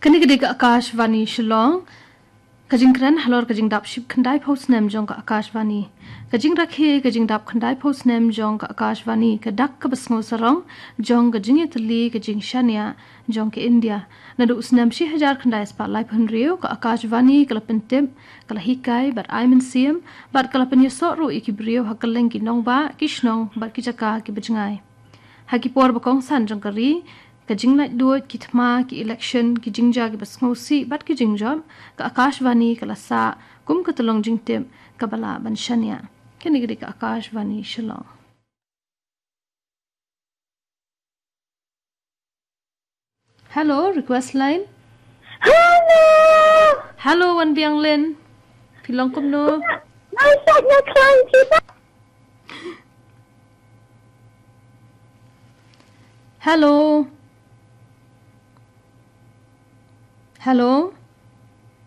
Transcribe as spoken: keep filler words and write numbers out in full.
Kane ka dei ka Akashvani Shillong. Ka jingkren halor ka jingdap shiphew khyndai phew snem jong ka Akashvani. Ka jingrakhe ka jingdap khyndai phew snem jong ka Akashvani, ka dak kaba sngewsarong jong ka jingïatylli ka jingshaniah jong ka India. Naduh u snem shi hajar khyndai spah laiphew hynriew, ka Akashvani ka la pyntip, ka la hikai bad ai mynsiem bad ka la pynïasoh ruh ïa ki briew ha kylleng ki nongbah, ki shnong bad ki jaka kiba jngai. Ha ki por ba kongsan jong ka ri, ka jinglaitluid, ki thma, ki election, ki jingjia kiba sngewsih bad ki jingjop, ka Akashvani ka la sah kum ka tyllong jingtip kaba lah ban shaniah. Kane ka dei ka Akashvani Shillong. Hello, request line. Hello. Hello, Wanbianglin. Phi long kumno? Ngan sa ïa kren kita. Hello. Hello.